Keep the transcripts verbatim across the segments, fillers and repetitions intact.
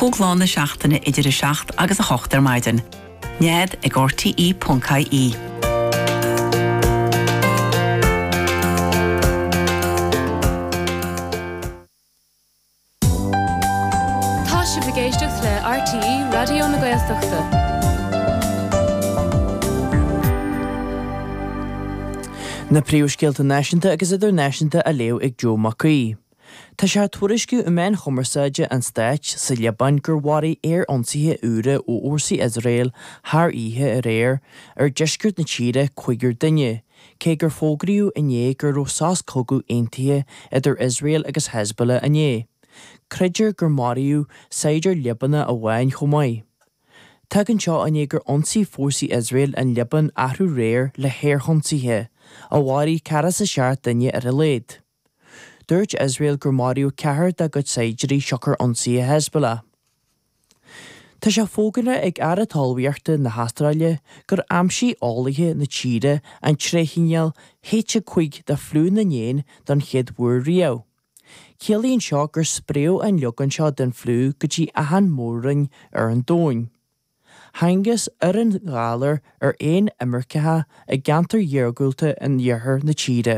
Cúig lá na seachtaine idir a seacht agus a hocht ar maidin. Nead ag RTE ponc IE. Tá sibh ag éisteacht le RTE Raidió na Gaeltachta. Na príomhscéalta náisiúnta agus idirnáisiúnta á léamh ag Joe Mac Aoidh. Tá sé tuairisciú i meáin chumarsáide an stáit sa Liobáin gur mharaigh aer-ionsaithe úra ó fhórsaí Iosrael thar oíche aréir ar deisceart na tíre cúigear duine, cé gur fógraíodh inné go raibh sos cogaidh aontaithe idir Iosrael agus Hezbollah inné. Creidtear gur maraíodh saighdiúir Liobánach amháin chomh maith. Tagann seo i ndiaidh gur ionsaigh fórsaí Iosrael an Liobáin athrú réir le haerionsaithe, a mharaigh ceathracha is a seacht duine ar a laghad. Dúirt Iosrael gur maraíodh ceathrar dá gcuid saighdiúirí siocair ionsaithe Hezbollah. Tá sé fógartha ag Aire Talmhaíochta na hAstráile gur aimsigh eolaithe na tíre an tréithchineál H a cúig de fliú na n-éan don chéad uair riamh. Ciallaíonn seo gur spréadh an leagan seo den fliú go dtí achan mór-roinn ar an domhan. Thángthas ar an ghalar ar éin imirceacha i gceantair iargúlta in iarthar na tíre.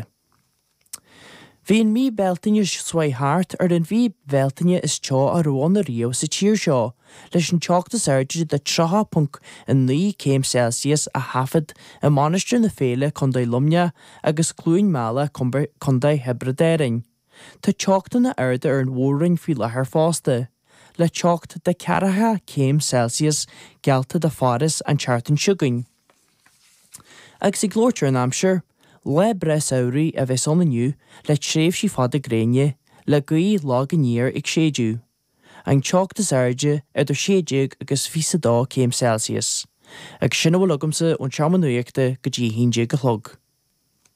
Bhí an mhí Bealtaine seo thart ar an mhí Bhealtaine is teo a raibh ann ariamh sa tír seo, leis an teocht is airde de tríocha ponc a naoi céim Celsius a thaifead i Mainistir na Féile, Contae Luimneach, agus Cluain Meala, Contae Thiobraid Árann. Tá teochtanna arda ar an mhór-roinn faoi láthair fosta, le teocht de ceathracha céim Celsius geallta do Pháras an tseachtain seo chugainn. Agus ag labhairt ar an aimsir, lá breá samhraidh a bheas ann inniu le tréimhsí fada gréine, le gaoth lag aniar ag séideadh. An teocht is airde idir sé déag agus fiche a dó céim Celsius. Agus sin a bhfuil agamsa ón seomra nuachta go dtí a haon déag a chlog.